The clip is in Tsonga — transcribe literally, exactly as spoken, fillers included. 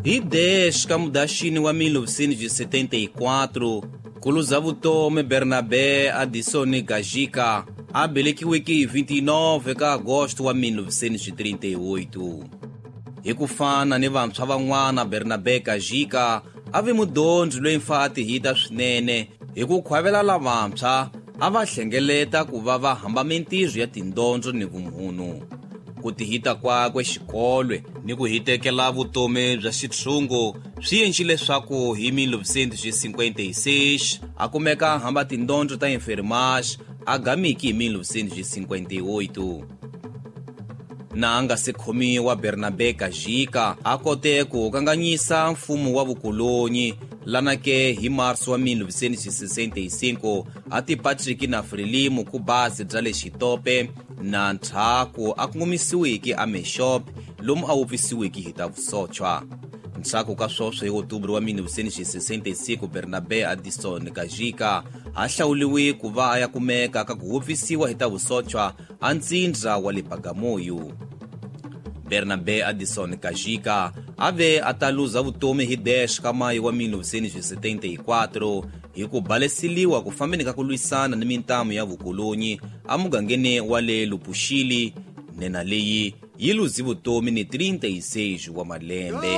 Hi dez ka Mudaxini wa mil novecentos e setenta e quatro, kuluza vutomi Bernabé Addison Gajika a velekiweke hi vinte e nove ka Agosto wa mil novecentos e trinta e oito. Hi ku fana ni vantshwa van'wana, Bernabé Gajika a ve mudyondzi loyi mfa a tihita swinene hi ku khwavela lavantshwa a va hlengeleta ku va va hamba mintirho ya tindyondzo ni vumunhu. Ku tihita kwakwe xikolwe ni ku hitekela vutomi bya xitshungu swi endle leswaku hi mil novecentos e cinquenta e seis a kumeka a hamba tindyondzo ta enfermagem a gamiki hi mil novecentos e cinquenta e oito. Na a nga se khomiwa, Bernabé Gajika a kote ku kanganyisa mfumo wa vukolonyi lana ke hi marso wa mil novecentos e sessenta e cinco a ti Patrick na Frelimo ku basi bya le Xitope na ndzhaku a kongomisiweke a Meshop lomu a wupfisiweke hi ta vusochwa. Ndzhaku ka swoswo hi Outubro wa mil novecentos e sessenta e cinco, Bernabé Addison Gajika a hlawuriwe ku va a ya kumeka ka ku wupfisiwa hi ta vusochwa a ntsindza wa le Bagamoyo. Bernabé Addison Gajika a ve a ta luza vutomi hi dez ka Mayi wa mil novecentos e setenta e quatro hi ku baleseliwa ku fambeni ka ku lwisana ni mintamu ya vukolonyi emugangeni wa le Lupuxili. Nena leyi yi luzi vutomi ni trinta e seis wa malembe.